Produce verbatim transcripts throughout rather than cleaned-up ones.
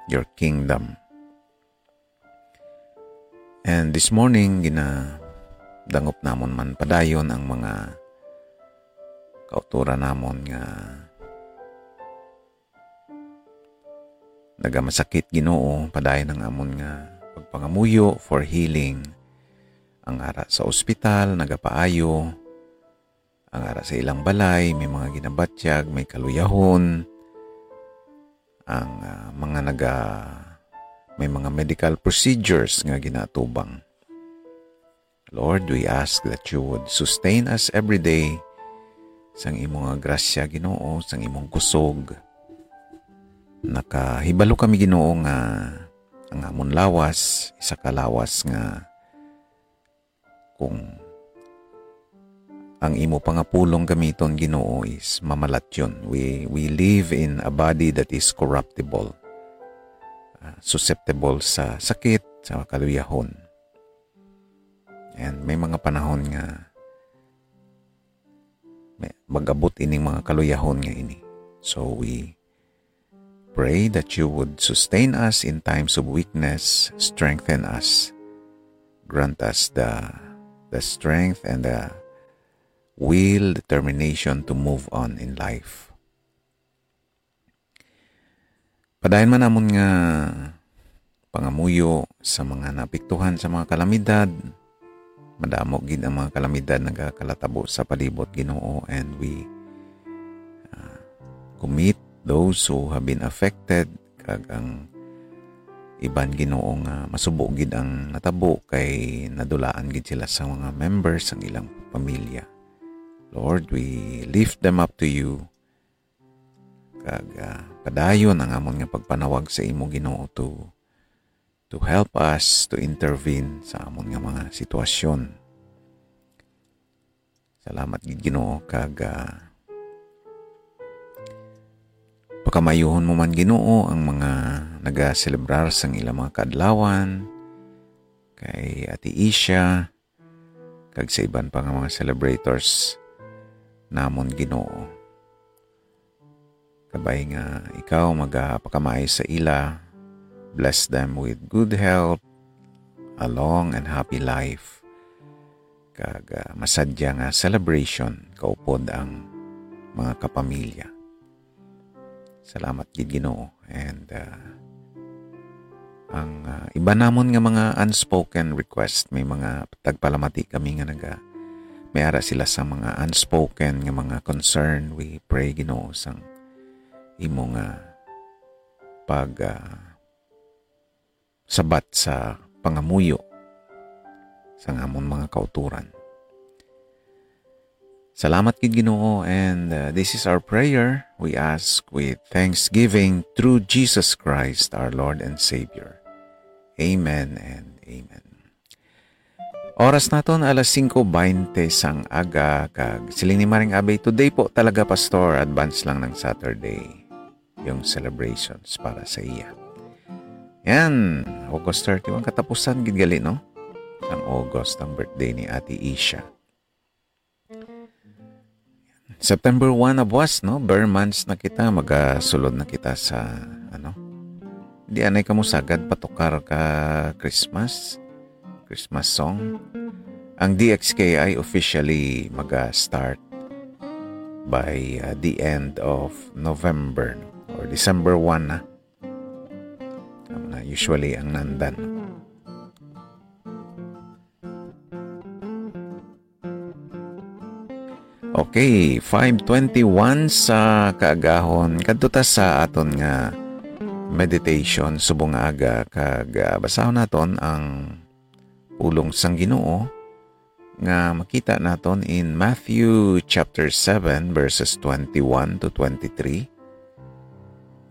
your kingdom. And this morning, ginadangop namon man padayon ang mga kauturan namon nga nagamasakit, Ginoo, padayon ang amon nga pagpangamuyo for healing. Ang ara sa ospital, nagapaayo. Ang ara sa ilang balay, may mga ginabatyag, may kaluyahon. Ang, ah, mga naga-, may mga medical procedures nga ginatubang. Lord, we ask that you would sustain us every day sang imo nga grasya, Ginoo, sang imong kusog. Nakahibalo kami, Ginoo, nga ang amon lawas, isa ka lawas nga kung ang imo pangapulong gamiton, Ginoo, is mamalatyon. We, we live in a body that is corruptible, ah, susceptible sa sakit, sa kaluyahon. And may mga panahon nga may, mag-abot ining mga kaluyahon nga ini. So we pray that you would sustain us in times of weakness, strengthen us, grant us the, the strength and the will, determination to move on in life. Padayon man amon nga pangamuyo sa mga naapektuhan sa mga kalamidad. Madamo gid ang mga kalamidad nagakalatabo sa palibot, Ginoo, and we, uh, commit those who have been affected, kag ang iban, Ginoo, nga masubo gid ang natabo kay nadulaan gid sila sa mga members sang ilang pamilya. Lord, we lift them up to you. Kag, ah, padayon ang amon nga pagpanawag sa imo, Ginoo, to, to help us to intervene sa amon nga mga sitwasyon. Salamat gid, Ginoo, kag, ah, pakamayuhon mo man, Ginoo, ang mga nagaselebrar sang ilang mga kaadlawan, kay Ate Isha, kag sa iban pa nga mga celebrators namon, Ginoo. Kabay nga ikaw magapakamaayo sa ila, bless them with good health, a long and happy life, kag, ah, masadya nga celebration kaupod ang mga kapamilya. Salamat gid, Ginoo. And, ah, ang, ah, iban namon nga mga unspoken request, may mga tagpalamati kami nga naga-, may ara sila sa mga unspoken nga mga concern. We pray, Ginoo, sang imo nga pag, ah, sabat sa pangamuyo sang amon mga kauturan. Salamat gid, Ginoo, and, uh, this is our prayer. We ask with thanksgiving through Jesus Christ, our Lord and Savior. Amen and amen. Oras naton alas singko baynte sang aga, kag siling ni Maring Abe, "Today po talaga, Pastor, advance lang ng Saturday yung celebrations para sa iya." Yan, August thirty-one, katapusan gid gali, no? Ang August, ang birthday ni Ate Isha. September one na buwas, no? Ber months na kita, magasulod na kita sa, ano? Di anay ka mo sagad patukar ka Christmas, Christmas song. Ang D X K I officially maga-start by, uh, the end of November, no? Or December one na. Tama na, usually ang nandan. Okay, five twenty-one sa kaagahon. Kadto ta sa aton nga meditation subong nga aga, kag, ah, basahon naton ang pulong sang Ginoo nga makita naton in Matthew chapter seven, verses twenty-one to twenty-three.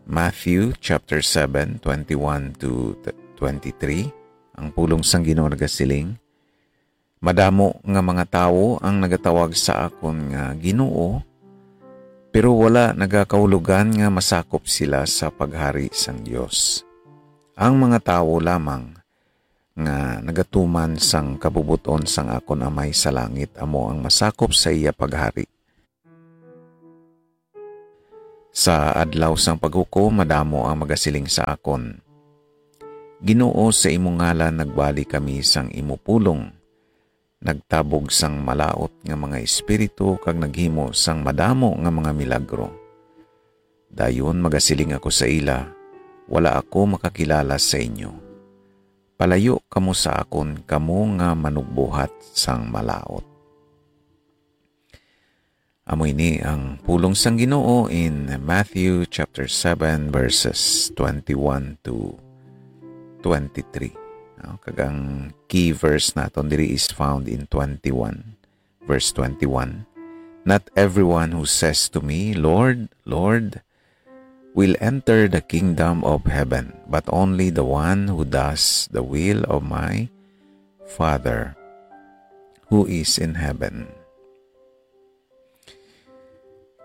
Matthew chapter seven, twenty-one to twenty-three. Ang pulong sang Ginoo nagasiling, "Madamo nga mga tawo ang nagatawag sa akon nga, 'Ginoo,' pero wala nagakaulogan nga masakop sila sa paghari sang Dios. Ang mga tawo lamang nga nagatuman sang kabubot-on sang akon Amay sa langit amo ang masakop sa iya paghari. Sa adlaw sang paghukom, madamo ang magasiling sa akon, Ginoo, sa imo ngalan nagbali kami sang imo pulong, nagtabog sang malaut nga mga espiritu kag naghimo sang madamo nga mga milagro. Dayon magasiling ako sa ila, "Wala ako makakilala sa inyo. Palayo kamo sa akon, kamo nga manugbuhat sang malaut." Amo ini ang pulong sang Ginoo in Matthew chapter seven, verses twenty-one to twenty-three. No? Kag ang key verse naton diri is found in twenty-one, verse twenty-one. "Not everyone who says to me, 'Lord, Lord,' will enter the kingdom of heaven, but only the one who does the will of my Father who is in heaven."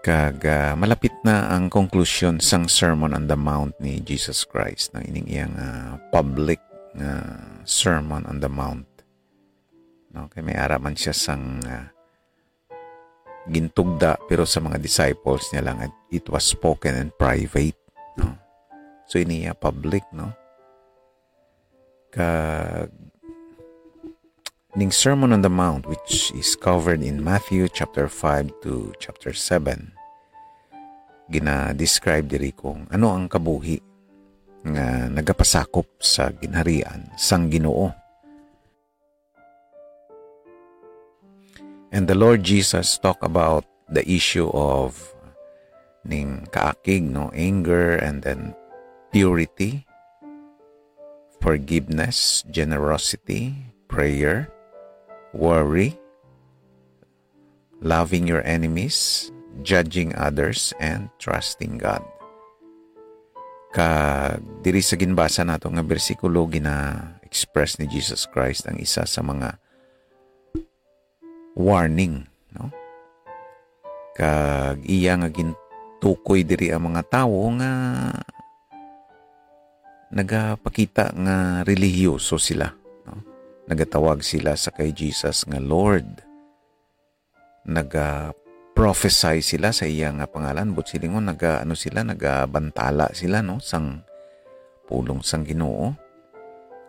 Kag, ah, malapit na ang konklusyon sang Sermon on the Mount ni Jesus Christ, no? Ining iyang, ah, public nga Sermon on the Mount. No? Kay may ara man siya sang, ah, gintugda, pero sa mga disciples niya lang, it, it was spoken in private. No? So, ini iya public, no? Kag ning Sermon on the Mount, which is covered in Matthew chapter five to chapter seven, gina-describe diri kung ano ang kabuhi nga nagapasakop sa ginharian sang Ginoo. And the Lord Jesus talk about the issue of ning kaakig, no, anger, and then purity, forgiveness, generosity, prayer, worry, loving your enemies, judging others, and trusting God. Kag diri sa ginbasa nato nga bersikulo, gina-express ni Jesus Christ ang isa sa mga warning, no? Kag iya nga gintukoy diri ang mga tawo nga nagapakita nga relihiyoso sila, no? Nagatawag sila sa kay Jesus nga Lord. Naga-prophesy sila sa iya nga pangalan, but silingon naga-, ano sila, nagabantala sila, no, sang pulong sang Ginoo.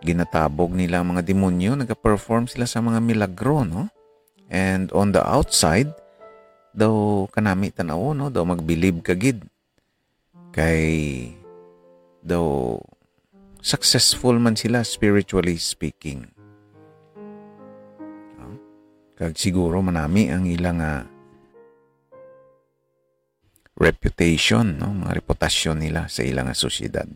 Ginatabog nila ang mga demonyo, naga-perform sila sa mga milagro, no? And on the outside, daw kanami tan-awon, no, daw magbilib ka gid. Kay daw successful man sila, spiritually speaking. No? Kag siguro manami ang ila nga reputation, no? Mga reputasyon nila sa ila nga sosyedad.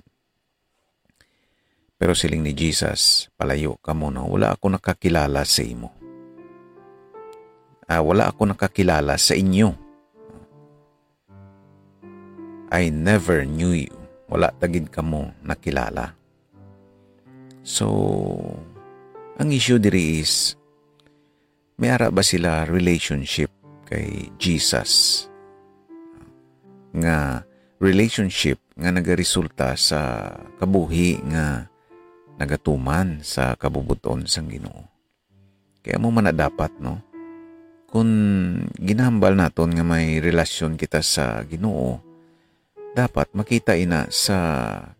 Pero siling ni Jesus, "Palayo kamo, no? Wala ako nakakilala sa imo. Ah, wala ako nakakilala sa inyo. I never knew you." Wala ta gid kamo nakilala. So, ang issue diri is, may ara ba sila relationship kay Jesus? Nga relationship nga nagaresulta sa kabuhi nga nagatuman sa kabubot-on sang Ginoo. Kaya mo man na dapat, no? Kung ginahambal naton nga may relasyon kita sa Ginoo, dapat makita ina sa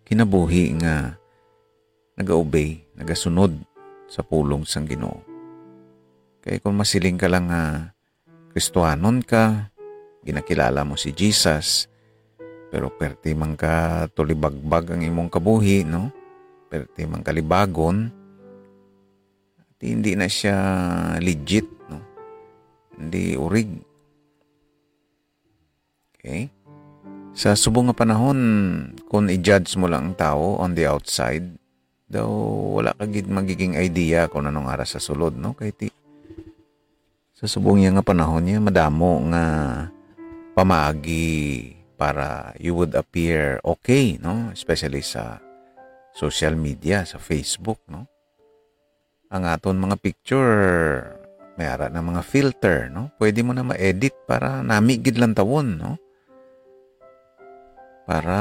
kinabuhi nga nagaobey, nagasunod sa pulong sang Ginoo. Kay kung masiling ka lang nga Kristohanon ka, ginakilala mo si Jesus, pero perti man ka tulibagbag ang imong kabuhi, no? Perti man ka libagon, di, hindi na siya legit, no? Hindi urig. Okay? Sa subong nga panahon, kung i-judge mo lang ang tawo on the outside, daw wala ka gid magiging idea kung anong ara sa sulod, no? Kay ti-, sa subong niya nga panahon niya, madamo nga pamaagi para you would appear okay, no? Especially sa social media, sa Facebook, no? Ang aton mga picture, may ara na mga filter, no? Pwede mo na ma-edit para nami gid lantawon, no? Para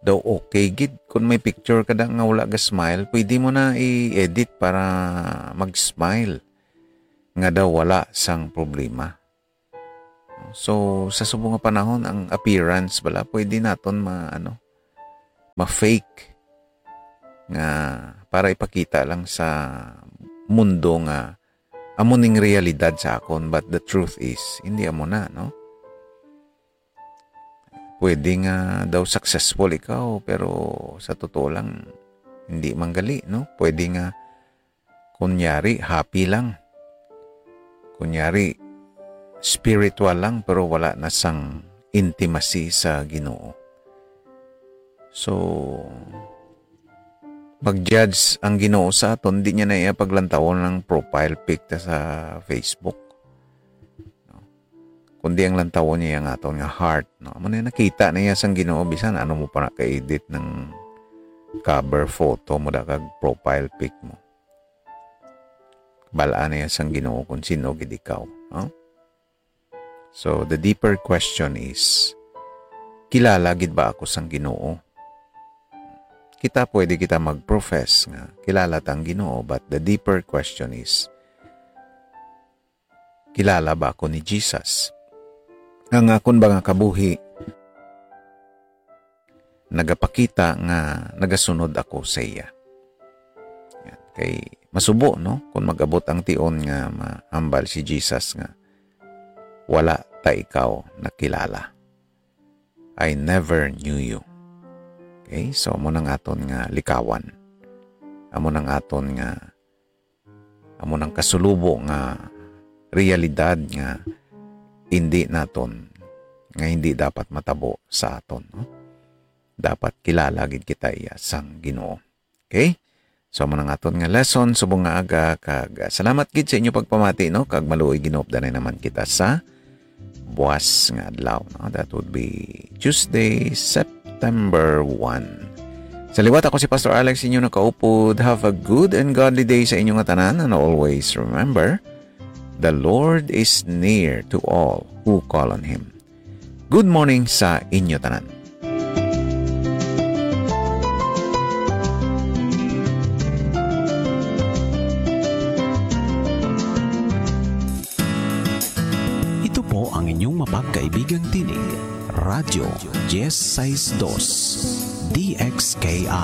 daw okay gid. Kung may picture ka da nga wala ga smile, pwede mo na i-edit para mag-smile. Nga daw wala sang problema. So, sa subong nga panahon, ang appearance bala, pwede naton ma-, ano, ma-fake. nga para ipakita lang sa mundo nga amo ning realidad sa akon, but the truth is, hindi amo na, no? Pwede nga daw successful ikaw, pero sa totoo lang, hindi man gali, no? Pwede nga, kunyari, happy lang. Kunyari, spiritual lang, pero wala na sang intimacy sa Ginoo. So, mag-judge ang Ginoo sa aton, di niya na iya paglantawon ang profile pic ta sa Facebook. No? Kundi ang lantawon niya ang aton nga heart, no? Amo na nakita na iya sang Ginoo, bisan ano mo pa na ka-edit ng cover photo mo da kag profile pic mo. Bal-an na iya sang Ginoo kung sino gid ikaw, no? So, the deeper question is, kilala gid ba ako sang Ginoo? Kita, pwede kita mag-profess nga kilala ta ang Ginoo, but the deeper question is, kilala ba ako ni Jesus? Ang akon ba nga kabuhi nagapakita nga nagasunod ako sa iya? Yan. Kay masubo, no? Kung mag-abot ang tion nga mahambal si Jesus nga, "Wala ta ikaw nakilala. I never knew you." Okay? So, amo nang aton nga likawan. Amo nang aton nga, amo nang kasulubo nga realidad nga hindi naton, nga hindi dapat matabo sa aton, no? Dapat kilala gid kita iya sang Ginoo. Okay? So, amo nang aton nga lesson subong nga aga, kag, ah, salamat gid sa inyo pagpamati, no? Kag maluoy ginupdanay naman kita sa buas nga adlaw, no? That would be Tuesday, September one. Sa liwat, ako si Pastor Alex, inyo nakaupod. Have a good and godly day sa inyo nga tanan, and always remember, the Lord is near to all who call on Him. Good morning sa inyo tanan. Ito po ang inyong mapagkaibigang tinig, Radyo Diez Seis Dos, D X K I.